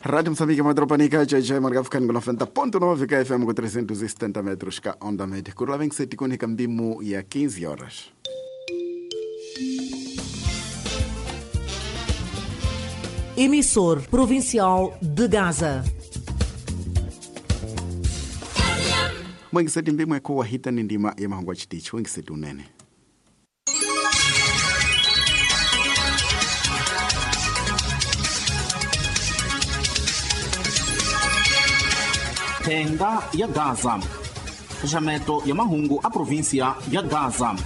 Rádio Moçambique, Madropanica, JJ, Margafcan, 90.9 KFM com 370 metros ka onda média. Kurula vem que se tikoni kambimu ya 15 horas. Emissor Provincial de Gaza. Mwengiseti mbimwe kuwa hita ni ndima ya mahongwa chitichi. Mwengiseti unene. Thenga ya Gaza. Xaxameto ya mahungu a província ya Gaza.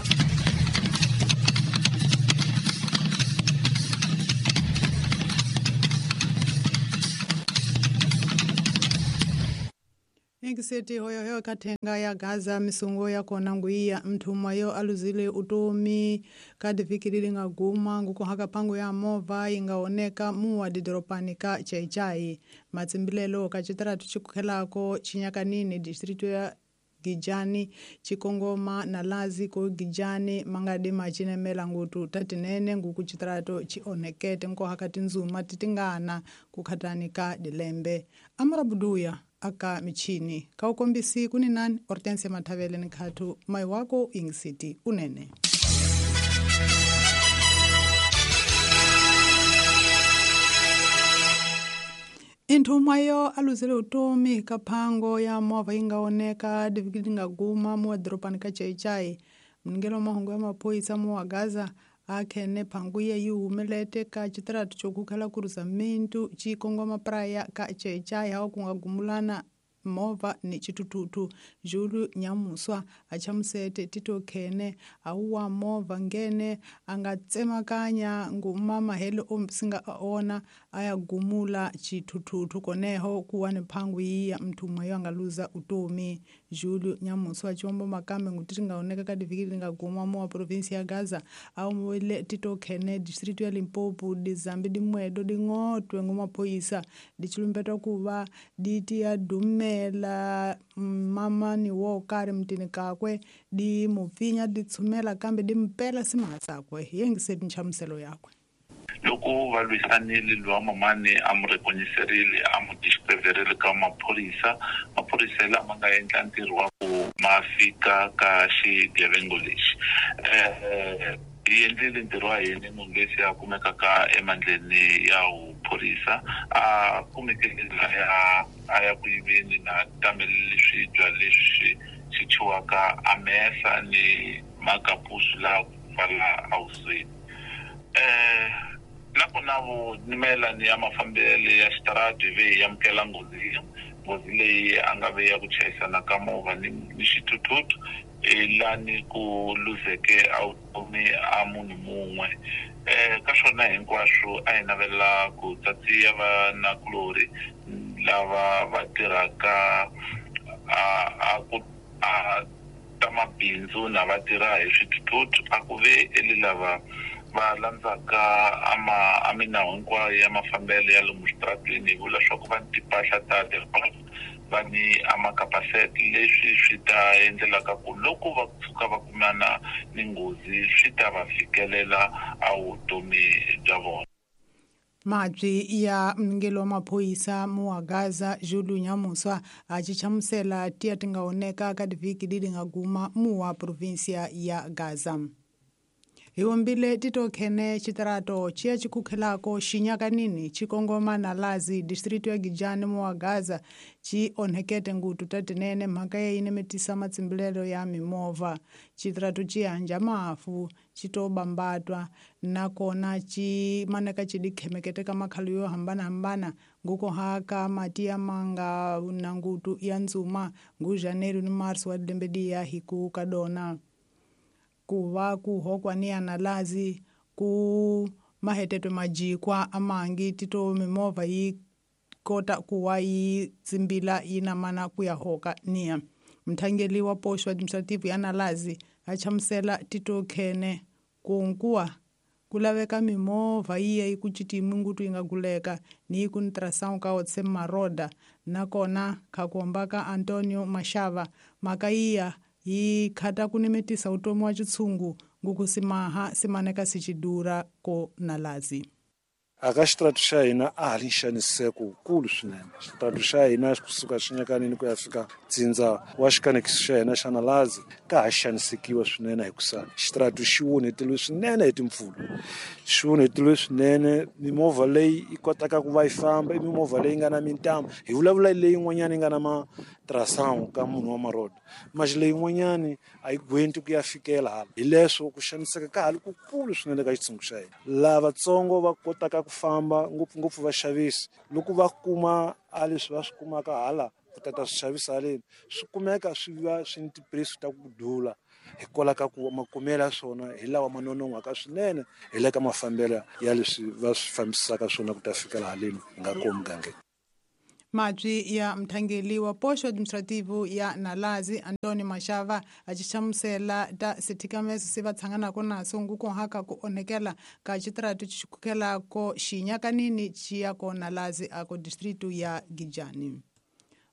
Ingiseti hoyohoyo kathenga ya Gaza misungo ya kona nguiya mthumwa yo aluzile utomi kadiviki lili ngaguma ngukuhaka phango ya movha yingaoneka muwa didoropani ka Chaichai matsimbilelo ka citaratu cikukhelako cinyakanini distrito ya Gijani cikongoma na lazi ko Gijani mangadi macinemela ngutu tatinene nguku citarato cionekete nkohaka tinzuma titingana kukhatani ka dilembe amarabuduya aka michini kaukombisi kuni nani Hortensia Mathavele ni khathu mai wako Ingisiti unene. Inthumwa yo aluzile utomi ka phango ya movha yingaoneka diviki lingaguma muwa doropani ka Chaichai mningelo wa mahungu ya maphoyisa muwa Gaza akhene phangu ye yi humelete ka citaratu cokukhela kuruza mintu cikongoma praya ka Chaichai hawa kungagumulana movha ni citututu Julu Nyamuswa achamusete tito khene awuwa movha ngene anga tsemakanya ngumama helo ombisinga aona ayagumula citututu koneho kuwa ni phangu yiya mthumwa yo angaluza utomi. Julu Nyamuswa ciombo makambe nguti tingaoneka ka diviki lingaguma muwa província ya Gaza awuwele tito khene distrito ya Limpopo dizambi dimwedo ding'otwe ngumaphoyisa dicilumbetwa kuva diti ya dume mela mamani wo kari mutini kakwe di mupfinya di tshumela kambe di mpela simahatsakwe yengiseti nchamuselo yakwe. Loko va lwisanile lowa mamani a mu rekonyiserile a mu discoverile ka maphorisa, maphorisa lama nga endla ntirho wa ku ma fika ka xigevengo lexi. Hi endlile ntirho wa hina munhu loyi se a kumekaka emandleni ya vuphorisa a kumekile laya a ya ku yiveni na tamelele swibya leswi swi thyiwaka a mesa ni makapusu laha ku pfala awusweni. Nakona mayelana ya mafambelo ya xitarati hi ve hi amukela nghozi leyi a nga ve ya ku chayisana ka movha ni xithuthuthu lani ku luzeke a vutomi a munhu mun'we. Ka swona hinkwaswo a hi navela ku tsatsiya vanakulorhi lava va tirhaka a ku a ta mabindzu na va tirha hi swithuthuthu a ku ve eli lava va landzaka a minawu hinkwayo ya mafambelo ya lomu xitarateni hi vula leswaku va ni timpahla ta va ni a makapasete leswi swi ta endlelaka ku loko va tshuka va kumana ni nghozi swi ta va fikelela a vutomi bya vona. Mabyi ya mningelo wa maphoyisa muwa Gaza Julu Nyamuswa a cichamusela tiya tingaoneka ka diviki lili ngaguma muwa província ya Gaza. Hiwombile tito khene citarato ciya cikukhelako xinyakanini cikongoma na lazi distrito ya Gijani muwa Gaza ci onhekete ngutu tatinene mhaka ye yinemetisa matsimbilelo ya mimovha. Citarato ci hanja mafu citobambatwa nakona ci maneka ci dikhemekete ka makhalu yo hambanahambana nguko haka mati ya manga na ngutu ya ndzuma ngu Janeiro ni Marso wa dilembe diya hiku kadona. Kuva kuhokwa ni analazi ku mahetetwe majikwa amangi tito mimovha yi kota kuwa yi tsimbila yi namana ku ya hoka niya. Mthangeli wa posho administrative ya Nalazi a chamusela tito khene kunkuwa ku laveka mimovha yiya yi ku citimi ngutu yi nga guleka ni yi ku ntrasawu ka otse maroda nakona khakomba ka Antonio Mashava mhaka yiya yi khata ku nimetisa utomi wa xitshungu nguku simaha simaneka sichidura ko Nalazi. Aka xitaratu xa hina a ha ri nxaniseko wukulu swinene. Xitaratu xa hina kusuka Xinyakanini ku ya fika Dzindza wa xikanekiso xa hina xa Nalazi ka ha xanisekiwa swinene hikusa xitaratu xi onheteliwe swinene hi timpfula. Xi onheteliwe swinene, mimovha leyi yi kotaka ku va yi famba i mimovha leyi nga na mintambu. Hi vulavula leyin'wanyana yi nga na matrasangu ka munhu wa marodo. Maxi leyin'wanyani a yi gwenti ku ya fikela hala. Hi leswo ku xaniseka ka ha ri kukulu swinene ka xitshungu xa hina. Lavatsongo va kotaka ku famba ngopfungopfu vaxavisi loko va kuma a leswi va swi kumaka hala ku tata swi xavisa haleni swi kumeka swi va swi ni tipurayisi ta ku dula hikwalaho ka ku makumelo ya swona hi lawa ma nonon'hwaka swinene hi le ka mafambelo ya leswi va swi fambisaka swona ku ta fikela haleni hi nga kona mugangeni. Mabyi ya mthangeli wa poxo administrativo ya Nalazi Antônio Machava a xi hlamusela ta swithikameso se va tshanganaka naso ngukuhaka ku onhekela ka xitaratu xi khukelako Xinyakanini xi ya ko Nalazi a ko distrito ya Gijani.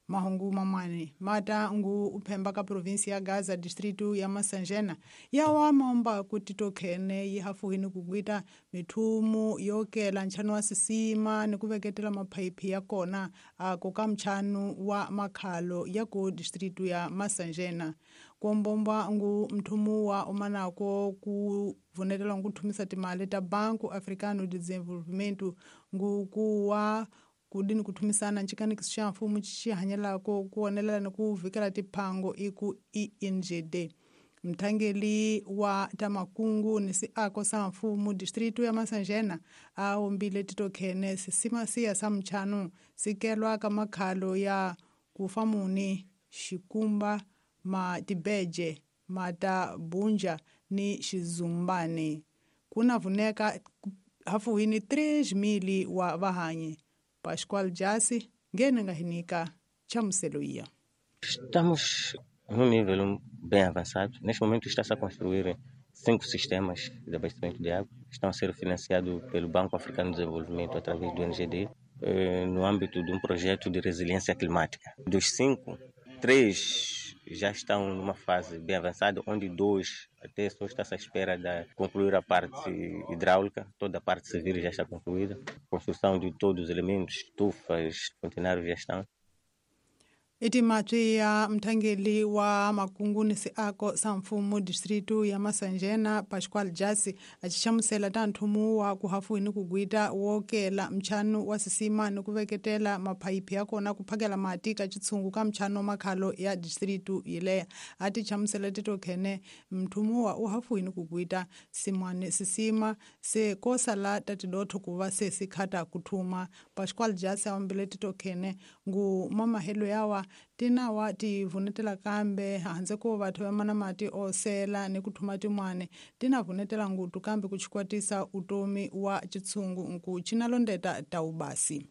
Mahungu mamane mata ngu uphemba ka provinsi ya Gaza distrito ya Masanjena yawa maomba ku titokhene yi hafuhini ku gwita mithumu yo kela nchanu wa sisima ni ku veketela maphayiphi ya kona a ku ka mchanu wa makhalo ya ku distrito ya Masanjena. Kuombomba ngu mthumu wa umanako ku vunetela ngu thumisa timali ta Banco Africano de Desenvolvimento ngu kuwa kudini kuthumisana ncikanikiso xa mfumo xi hanyelako ku onelela ni ku vhikela tiphango iku INGD. Mthangeli wa tamakungu ni siako sa mfumo distrito ya Masanjena a ombile titokhene sisima siya sa mchanu sikelwa ka makhalo ya kufamuni Xikumba Matibeje Mata Bunja ni Xizumbani. Kuna vuneka hafuhini 3,000 wa vahanyi. Pascoal Jasi ngene nga hinika chamuselo iya. Estamos num nível bem avançado. Neste momento está-se a construir 5 sistemas de abastecimento de água. Estão a ser financiados pelo Banco Africano de Desenvolvimento através do NGD, no âmbito de um projeto de resiliência climática. Dos 5, 3 já estão numa fase bem avançada, onde 2 até só está-se à espera de concluir a parte hidráulica, toda a parte civil já está concluída, construção de todos os elementos, estufas, contenários já estão. Iti matwi ya mthangeli wa makungu ni siako sa mfumo distrito ya Masanjena Pascoal Jasi a xi hlamusela ta nthumu wa ku hafuhini ku gwita wo kela mchanu wa sisima ni ku veketela maphayiphi ya kona ku phakela mati ka xitshungu ka mchanu wa makhalo ya distrito yileya. A ti hlamusela titokhene mthumu wa u hafuhini ku gwita simwane sisima se ko sala ta tidotho ku va se sikhata ku thuma. Pascoal Jasi a ombile titokhene ngu mamahelo yawa tinawa ti vunetela kambe handze ko vathu va mana mati osela ni ku thuma tin'wani tina vunetela ngutu kambe ku chikwatisa utomi wa chitshungu nku chinalondeta ta ubasi.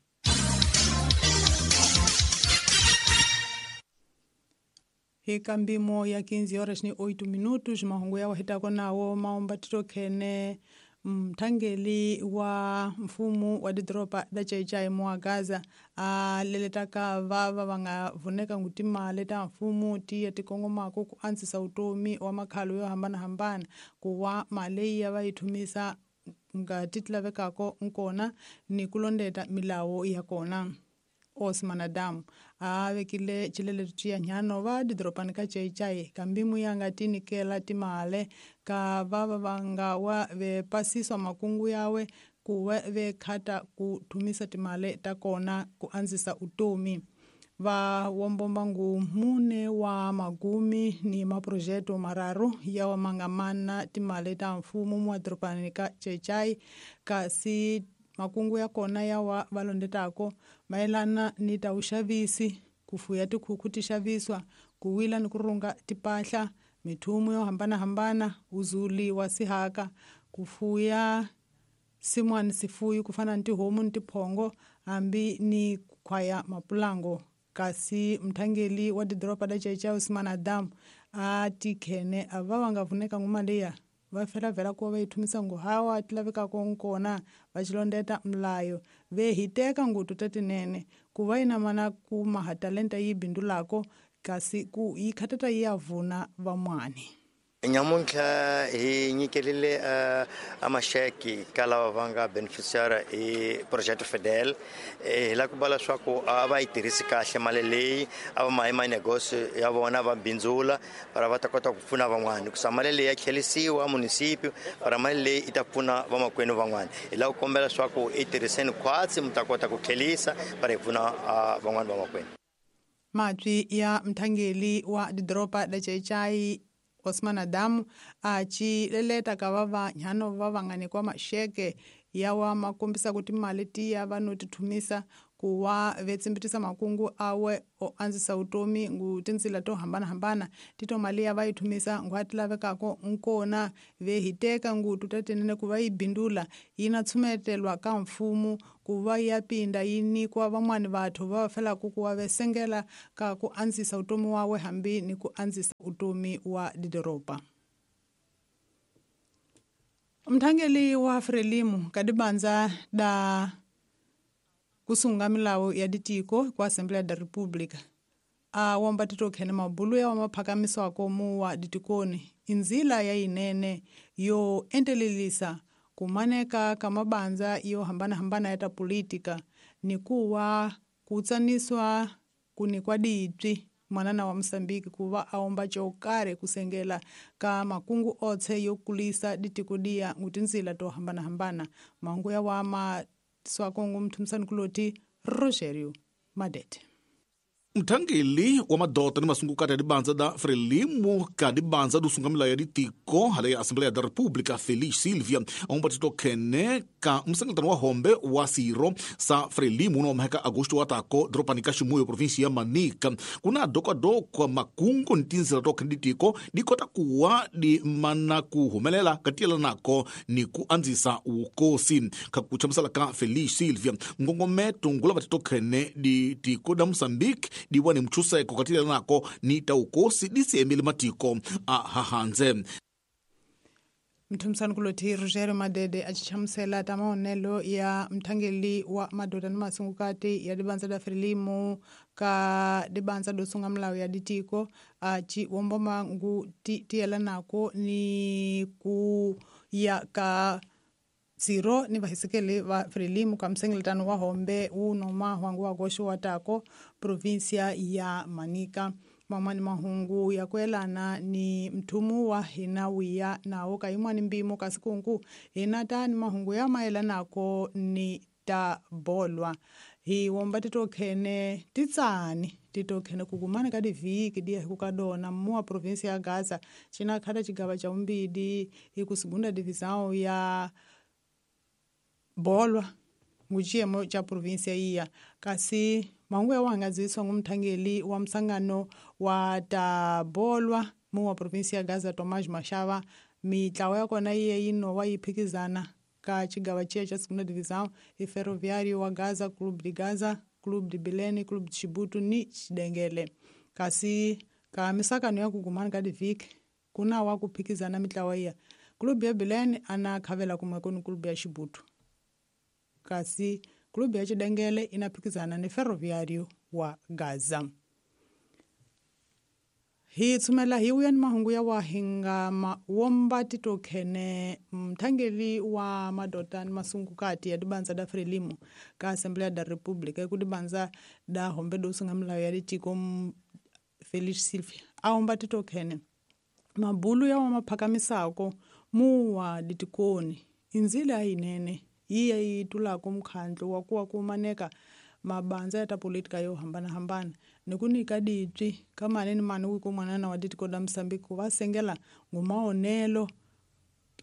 Hi kambimo ya 15 horas ni 8 minutos mahungu ya wahitako nawo maomba titokhene mthangeli wa mfumo wa didoropa da Chaichai mwa Gaza a leletaka vava va nga vuneka ngu timali ta mfumo tiya tikongomako ku antswisa utomi wa makhalo yo hambanahambana ku wa mali ya va yi thumisa nga ti lavekako nkona ni ku londeta milawu ya kona. Osman Adam a vekile chileleto ciya nyano va didoropani ka Chaichai kambimu ya nga tinikela timale ka vava va nga wa ve pasiswa makungu yawe ku ve khata ku thumisa timale ta kona ku andzisa utomi. Va wombomba ngu mune wa magumi ni maprojeto mararu yawa mangamana timale ta mfumo mwa doropani ka Chaichai kasi makungu ya kona yawa valondetako mayelana ni ta uxavisi ku fuya tikhukhu ti xaviswa ku wila ni ku rhunga tipahla mithumu yo hambanahambana uzuli wa sihaka ku fuya simwani sifuyi ku fana ni tihomu ni tiphongo hambi ni ku khwaya mapulango. Kasi mthangeli wa didoropa da Chaichai Usman Adam a tikhene a va va nga vuneka nguma leya va fela vhela ku va yi thumisa ngu hawa ti lavekaka nkona va xilondeta mlayo ve hiteka ngutu ta tinene ku va yi na mana ku maha talenta yi bindulako kasi ku yi khatata yi ya vuna van'wani. Nyamuntlha hi nyikelile a maxeke ka lava va nga beneficiary hi Projeto Fidel. Hi lava ku vula leswaku a va yi tirhisi kahle mali leyi, a va mahi manegosio ya vona va bindzula para va ta kota ku pfuna van'wana, hikusa mali leyi ya tlhelisiwa municipio para mali leyi yi ta pfuna vamakwenu van'wana. Hi lava ku kombela leswaku i tirhiseni khwatsi mi ta kota ku tlhelisa para hi pfuna van'wana vamakwenu. Mabyi ya mthangeli wa didoropa la Xai-Xai Osman Adamu a ci leleta ka va vanhano va va nga nyikiwa maxeke yawa ma kombisa ku timali tiya va no ti thumisa ku wa vetsimbitisa makungu awe o andzisa vutomi ngu tindzila to hambanahambana tito mali ya va yi thumisa ngu a ti lavekako nkona ve hi teka ngutu ta tinene ku va yi bindula yi na tshumetelwa ka mfumo ku va ya pinda yi nyikiwa van'wani vathu va va felaka ku wa vesengela ka ku andzisa vutomi wawe hambi ni ku andzisa vutomi wa didoropa. Mthangeli wa Frelimu kadibandza da kusunga milawu ya ditiko kwa Assembleia da República a womba titokhene mabulu ya maphakamiswako muwa ditikoni inzila ya yinene yo entelelisa kumaneka ka mabandza yo hambanahambana ya ta politika ni kuwa kutsaniswa kunikwa dipyi mwanana wa Mosambiki kuva aomba cokare kusengela ka makungu otse yo kulisa ditiko dia ngutinzila to hambanahambana. Mangu ya wama swakongo mthumisani kuloti Rogerio Madete. Mthangeli wa madota ni masungukati ya dibandza da Frelimo ka dibandza do sunga milawu ya ditiko hala ya Assembleia da República Feliz Silvia aomba titokhene ka msengeletano wa hombe wa siro sa Frelimo no maheka agosto wa tako doropani ka Ximuyo provinsia ya Manica. Kuna dokwadokwa makungu ni tindzila tokhene ditiko di kota kuwa di mana ku humelela ka tiyelanako ni ku andzisa wukosi. Ka ku chamusela ka Feliz Silvia ngongometo ngulava titokhene ditiko da Mozambique di wa ni mchuseko katile nako ni taukosi di siemile matiko a hahanze. Mthumsani kuloti Rogerio Madede a chichamusela ta maonelo ya mthangeli wa madoda ni masungukati ya dibandza da Frelimo ka dibandza do sunga milawu ya ditiko a ci womba mangu tiyela nako ni ku ya ka zero ni vahisekeli va Frelimo ka msengeletano wa hombe wu noma hwangu wa goxo wa tako provinsia ya Manica. Mamani mahungu ya kuelana ni mthumu wa hina wiya nawo ka yin'wani mpimo kasi kunku hina ta ni mahungu ya mayelanako ni ta bolwa. Hi womba titokhene titsani titokhene kukumana ka divhiki diya hi ku ka dona muwa provinsia ya Gaza cina khata xigava xa vumbili hi ku segunda divisão ya bolwa nguxiyemo xa provinsia iya. Kasi mahungu ya wahangaziswa ngumthangeli wa msangano wa ta bolwa muwa provinsia ya Gaza Tomás Mashava. Mitlawa ya kona yiye yi nowa yi phikizana ka xigava xiya xa segunda divisão i Ferroviário wa Gaza, Clube de Gaza, Clube de Belém, Clube de Chibuto ni Xidengele. Kasi ka misakano ya kukumana ka divhiki kuna wa ku phikizana mitlawa iya Clube ya Belém ana khavela kumwe kuni Clube ya Chibuto, kasi klubu ya Xidengele inaphikizana ni Ferroviário wa Gaza. Hi tsumela hi wuya ni mahungu ya wahinga womba titokhene mthangeli wa madota ni masungukati ya dibandza da Frelimo ka Assembleia da República ku dibandza da hombe do sunga milawu ya ditiko Felix Silvia a womba titokhene mabulu ya wa maphakamisako muwa ditikoni inzila yinene yiya yi tulako mukhandlu wa kuwa kumaneka mabandza ya ta politika yo hambanahambana ni ku nyika dipyi ka mani ni mani wiko mwanana wa ditiko da Mosambiki ku va sengela ngumaonelo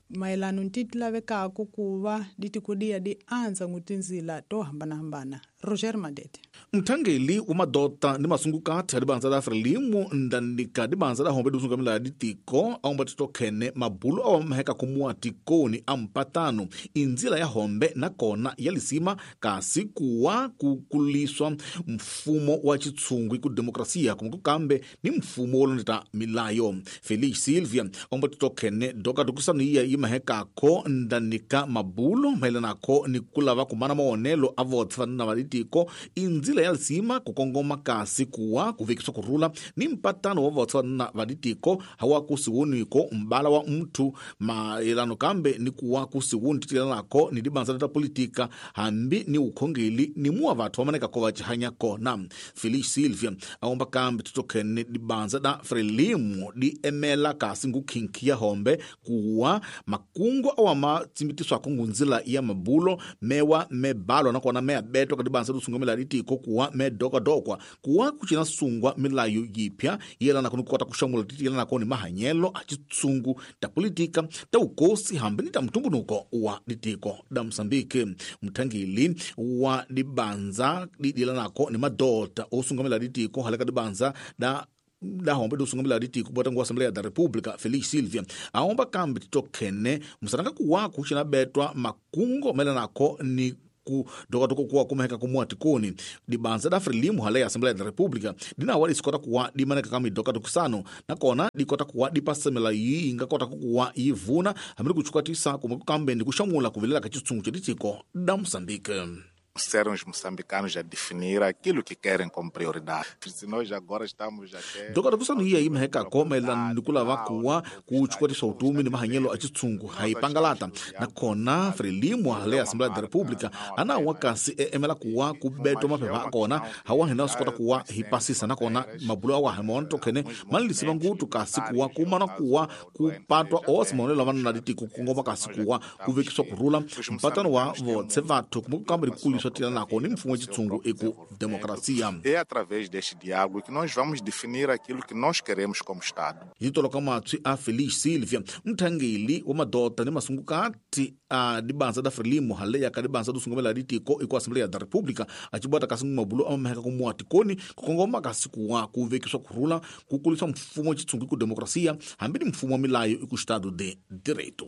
mayelano ni ti lavekaka ku va ditiko diya di andza ngu tindzila to hambanahambana. Roger Madete. Mthangeli wa madota ni masungukati ya dibandza da Frelimo ndanika dibandza da hombe dusunga milawu ya ditiko aomba titokhene mabulu awa maheka kumuwa tikoni a mpatano indzila ya hombe nakona ya lisima kasi kuwa kukuliswa mfumo wa chitshungu ku demokrasia kumwe kukambe ni mfumo wo londeta milayo. Felix Silvia aomba titokhene dokadokisano iya yi mahekako ndanika mabulo mayelanako ni ku lava kumana maonelo a votse va na va ditiko i ndzila ya lisima ku kongoma kasi kuwa ku vekiswa kurhula ni mpatano wa vatswana va ditiko hawa kusiwoniko mbala wa muthu maelano kambe ni kuwa kusiwoni titilanako ni dibanza ta politika hambi ni ukhongeli ni muwa vathu vamanekako va cihanya kona. Felix Silvia aomba kambe titokhene dibanza da Frelimo di emela kasi ngukhinkhi ya hombe kuwa makungu awa matsimbitiswako ngunzila ya mabulo mewa mebalo nakona meabetwa ka dibanza dusungamela ditiko kuwa medokadokwa kuwa kucina sungwa milayo yipya yelanako ni kukota kuxamula titiyelanako ni mahanyelo a citsungu ta politika ta ukosi hambi ni ta mutumbunuko wa ditiko da Mosambiki. Muthangeli wa dibanza didilanako ni madota osungamela ditiko haleka dibanza da hombe dusungamela ditiko bota ngu Assembleia da República Felix Silvia aomba kambe titokhene musaranga kuwa kucina betwa makungo melanako ni ku dokatoko kuwa kumeheka kumua tikoni dibanza da Frelimo hale ya Assembleia da República dinawa disikota kuwa dimaneka kama idokatokusano nakona dikota kuwa dipasemela yi ingakota kuwa yivuna hambi kuchukua tisa kumwe kukambe ndi kuxamula kuvilela ka chitsungu cha ditiko da Moçambique. Serão os moçambicanos a definir aquilo que querem como prioridade. Se nós agora estamos até... Dokota kusanu iya imeheka maelana ni kulava kuwa kuchukwatisa utumi ni mahanyelo a chitsungu haipangalata nakona Frelimo hale Assembleia da República anawa kasi emela kuwa kubetwa maphepha akona hawa hina sikota kuwa hipasisa nakona mabulo awa himona tokhene manilisiva ngutu kasi kuwa kumana kuwa kupatwa osi maonelo avanana ditiko kukongoma kasi kuwa kuvekiswa kurhula mpatano wa votse vathu kumbe kukambe dikuliswa nako ni mfumo chitsungu eku demokrasia. É através deste diálogo que nós vamos definir aquilo que nós queremos como Estado. Yitoloka matswi a Felix Silvia mthangeli wa madota ni masungukati a dibanza da Frelimo hale ya ka dibanza dusungamela ditiko eku Assembleia da República acibota kasi mabulo amameheka kumua tikoni kukongoma kasi kuwa kuvekiswa kurhula kukulisa mfumo chitsungu eku demokrasia hambi ni mfumo wa milayo eku Estado de Direito.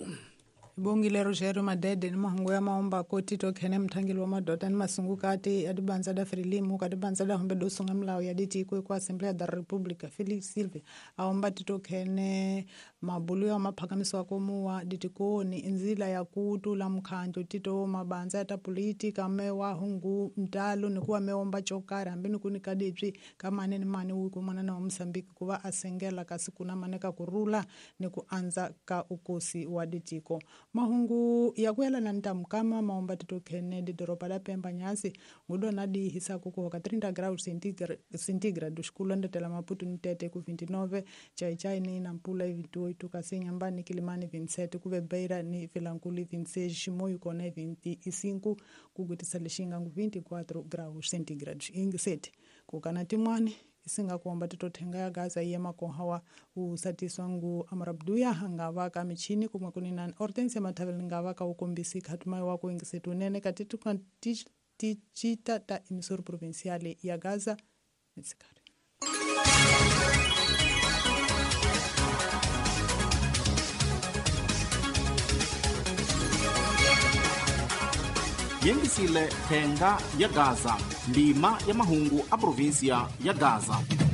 Bongile Rogério Madede ni mahungu ya maomba koti tokhene mthangeli wa madota ni masungukati ya dibanza da Frelimo ka dibanza da hombe dosunga milawu ya ditiko eku Assembleia da República Felix Silvia aomba titokhene mabulu ya maphakamiso akomuwa ditikoni inzila ya kutula mkhanjo tito mabanza ya ta politika mewa hungu mtalo ni kuwa meomba chokari hambi ni kunika dibyi ka mani ni mani wiku mwanana wa Mosambiki kuva asengela kasi kuna maneka kurula ni kuanza ka ukosi wa ditiko. Mahungu ya kuyelana ntamukama maomba titokhene didoropa la Pemba nyasi ngudona dihisa kukuhoka 30 graus centigrade xikulondetela Maputo ni Tete ku 29 Chaichai ni Nampula 28 kasi Nyambani Kilimani 27 kuve Beira ni Vilankulu 26 Chimoio kona 25 kugutisa lexinga ngu 24 graus centigrade ingiseti kukana timwani isinga kuomba titothenga ya Gaza iye makohawa usatiswa ngu Amrabduya hangava ka michini kumwe kunina Hortensia Mathavela ngava ka ukombisi khatumai wa ku ingisetu nene katitu tichita ta emisoro provinciale ya Gaza netsikari. Yengisile thenga ya Gaza ndima ya mahungu a província ya Gaza.